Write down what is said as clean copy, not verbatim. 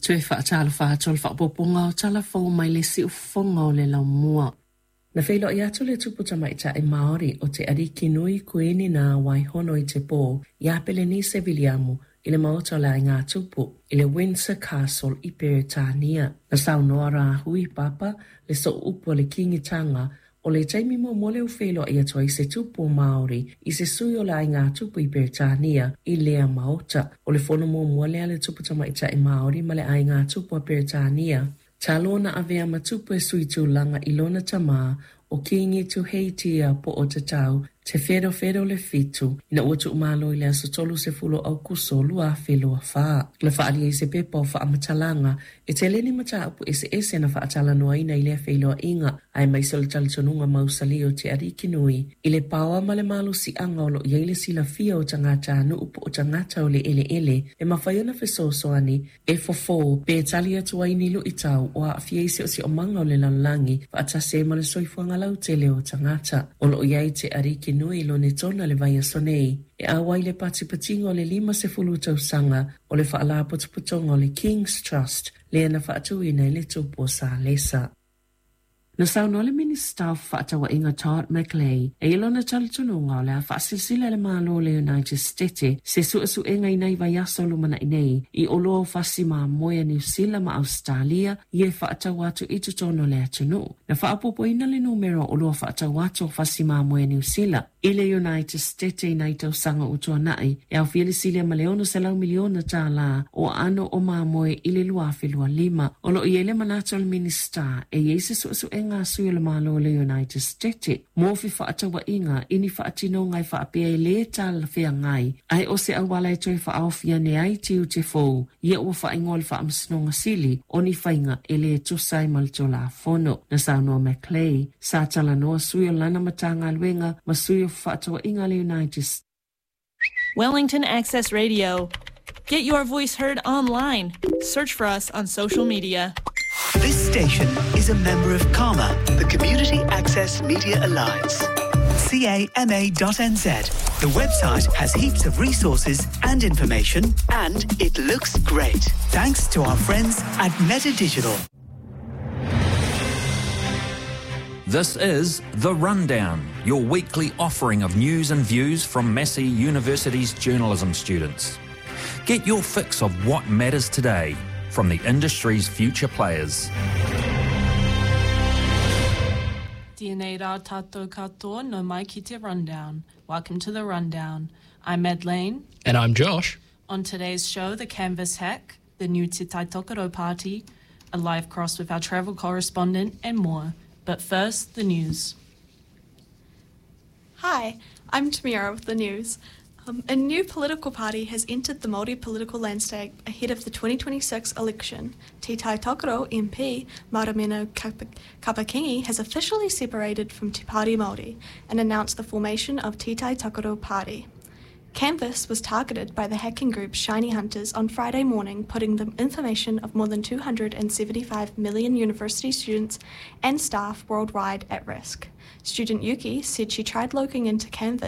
Toe faatalofa atu le faaopoopoga o tala fou mai le siufofoga o le laumua. Na feiloai atu le tupu tamaitai Māori o te Ariki Nui Kuini na Waihono i te pō iā Pelenise Viliamu i le maota o le Aiga Tupu i le Windsor Castle i Peretania. Na saunoa Rāhui Papa le sooupu o le Kīngitanga o le taimi muamua lea ua feiloai atu ai se tupu o Māori i se sui o le Aiga Tupu i Peretania i lea maota. O le fono muamua lea a le tupu tamaitai Māori ma le Aiga Tupu a Peretania. Talu ona avea ma tupu e sui tulaga i lona tamā o Kīngi Tuheitia Pootatau Te Wherowhero le Fitu, ina ua tuumalo i le aso 30 o Aukuso 2024. Na faaalia i se pepa o faamatalaga e tele ni mataupu eseese na faatalanoaina i lea feiloaiga, aemaise o le talitonuga mausali o te Ariki Nui i le paoa ma le malosiaga o lo o i ai le silafia o tagatanuu po o tagata o le eleele e mafai ona fesoasoani e fofo pe tali atu ai ni luitau o aafia i siosiomaga o le lalolagi faatasi ai ma le soifuaga lautele o tagata. O lo o i ai te Ariki Nui i Lonetona le vaiaso nei e auai le patipatiga o le 50 tausaga o le faalapotopotoga o le King's Trust lea na faatuina e le Tupu o Salesa. Na saunoa le Minisita o Fefaatauaiga Todd McClay e i lona talitonuga o le a faasilasila e le Malo o le United Stete se suesuega i nai vaiaso o lumanai nei i oloa o fasi mamoe a Niu Sila ma Ausetalia ia e faatau atu i totonu o le atunuu. Na faaopoopoina le numera o oloa faatau atu o fasi mamoe a Niu Sila i le United Stete i nai tausaga ua tuanai, e aofia le silia ma le $600 miliona tālā o aano o mamoe i le 2025. O lo o i ai le manatu o le Minisita e i ai se suesuega a sui o le Malo o le United Stete mo fefaatauaiga i ni faatinoga e faapea e lē talafeagai ae o se auala e toe faaofi ane ai tiute fou ia ua faaigoa le Faamasinoga Sili o ni faiga e lē tusa ai ma le Tulafono. Na saunoa McClay, sa talanoa sui o lana Matagaluega ma sui o Fefaatauaiga a le United Wellington Access Radio. Get your voice heard online. Search for us on social media. This station is a member of CAMA, the Community Access Media Alliance. CAMA.nz. The website has heaps of resources and information, and it looks great. Thanks to our friends at Meta Digital. This is The Rundown, your weekly offering of news and views from Massey University's journalism students. Get your fix of what matters today from the industry's future players. Tēnei rā tātou katoa nau mai ki te Rundown. Welcome to The Rundown. I'm Madeleine. And I'm Josh. On today's show, the Canvas hack, the new Te Tai Tokerau party, a live cross with our travel correspondent, and more. But first, the news. Hi, I'm Tamira with the news. A new political party has entered the Māori political landscape ahead of the 2026 election. Te Tai Tokerau MP Mariameno Kapa-Kingi has officially separated from Te Pāti Māori and announced the formation of Te Tai Tokerau Party. Canvas was targeted by the hacking group Shiny Hunters on Friday morning, putting the information of more than 275 million university students and staff worldwide at risk. Student Yuki said she tried logging into Canvas